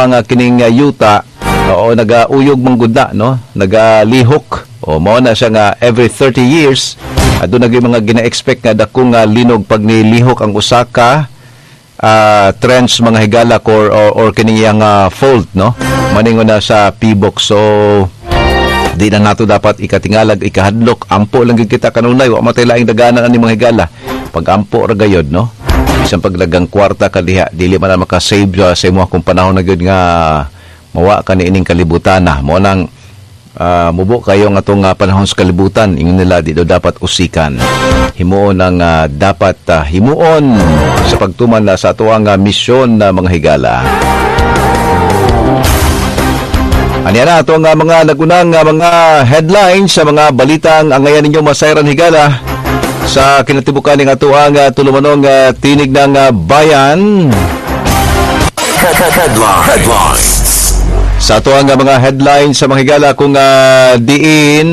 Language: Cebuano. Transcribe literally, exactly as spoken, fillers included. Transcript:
nga kining uh, yuta, oo, nagauyog man gud na, no, nagalihok. O mao na siya nga every thirty years aduna gyud mga gina-expect nga dakong nga linog pag nilihok ang usa ka uh, trench, mga higala, or, or, or kining iyang uh, fault, no, maningon na sa P B O C. So di na nato dapat ikatingalag, ikahadlok. Ampo lang gyud kita kanunay, wa matay laing daganan ani, mga higala. Pag ampo ra gayod, no, bisan paglagang kwarta ka diha, dili man na maka-save uh, sa imo kung panahon na gyud nga mawa ka ni ining kalibutan na. Mo nang uh, mubo kayo nga atong uh, panahon sa kalibutan, ingon nila, di daw dapat usikan. Himuon ang uh, dapat uh, himuon sa pagtuman na sa atoang uh, misyon na, mga higala. Aniya na atong uh, mga nagunang uh, mga headlines sa mga balitang angayan ninyo masayran, higala, sa kinatibukan ng atoang uh, tulumanong uh, Tinig ng uh, Bayan. Headline. Headlines. Sa atoang uh, mga headlines sa mga higala kung uh, diin